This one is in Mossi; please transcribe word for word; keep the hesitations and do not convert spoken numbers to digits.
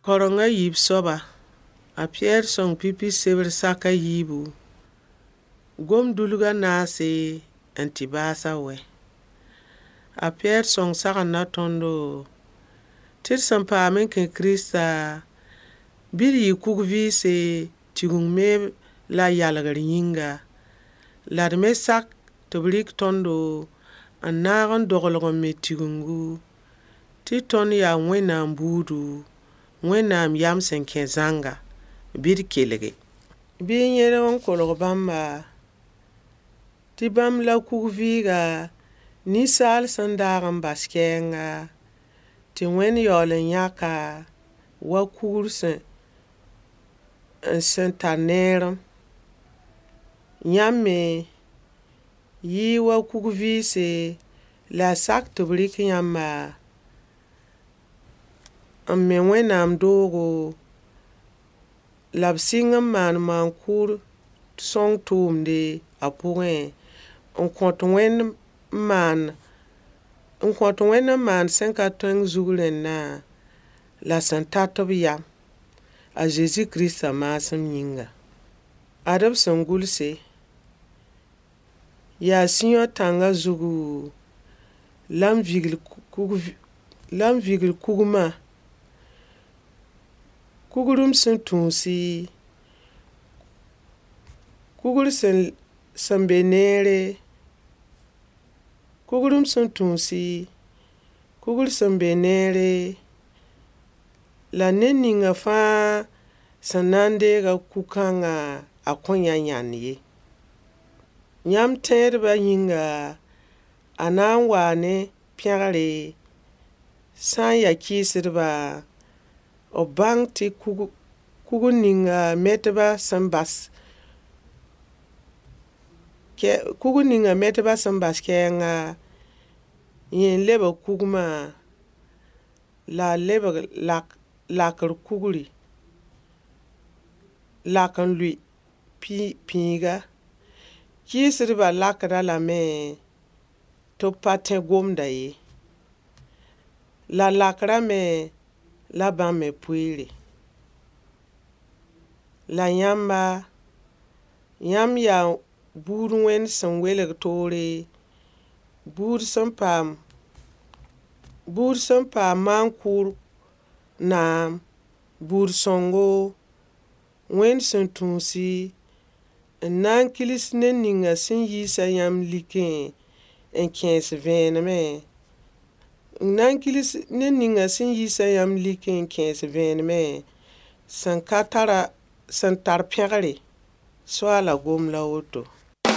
Kaoreng a yiib soaba, a Piyɛr sõng pipi sebr sak a yiibu, gom-dulg a naase n tɩ baas a wɛ. A Piyɛr sõng sagenda tõndo tɩ d sẽn paam n kẽ Kirista, bɩ d yɩ kug-vɩɩse tigeng meeb la yalgr yĩnga, la d me sak tɩ b rɩk tõndo n naag n doglg n me tigengu, tɩ tõnd yaa Wẽnnaam buudu, Wẽnnaam yam sẽn kẽ zãnga. Bɩ d kelge. Bɩ y yẽlg n kolg bãmba, tɩ bãmb la kug-vɩɩga ninsaal sẽn daag n bas kɛɛnga, tɩ Wẽnd yaool n yãk-a wa kugr sẽn sẽn tar neerem. Yãmb me yɩ-y wa kug-vɩɩse, la y sak tɩ b rɩk yãmba n me Wẽnnaam doogo, la b sɩng n maan maan-kʋʋd sõng tʋʋmde a pʋgẽ, n kõt Wẽnd n maan n kõt Wẽnd n maan sẽn ka tõeng zug rẽndã la sẽn tat b yam, a Zezi Kiristã maasem yĩnga. Ad b sẽn gʋlse: yaa Siyõ tãngã zugu la m vigl kug la m vigl kugmã, kugr m sẽn tũusi, kugr sẽn sẽn be neere, kugr m sẽn tũusi, kugr sẽn be neere, la ned ninga fãa sẽn na n deega kug-kãngã, a kõn yã yãnd ye. Yãmb tẽedbã yĩnga, a na n waa ne pẽgre, sã n ya kɩɩsdbã, b bãng tɩ kug kugr ninga metbã sẽn bas kugr ninga metbã sẽn bas kɛɛnga, yẽ n lebg kugmã, la a lebg lak lakr kugri, lak n lʋɩ pĩiga. Kɩɩsdbã lakd-a lame tɩ b pa tẽ gomda ye. La lakrã me la bãmb me poeere. La yãmba, yãmb yaa buud Wẽnd sẽn welg toore, buud sẽn paam buud sẽn paam maan-kʋʋd naam, buud sõngo, Wẽnd sẽn tũusi, n na n kils ned ninga sẽn yiisa yãmb likẽ n kẽes vẽenemẽ, n na n kils ned ninga sẽn yiisa yãmb likẽ n kẽes vẽenemẽ sẽn ka tara sẽn tar pẽgre. Soaala gom la woto.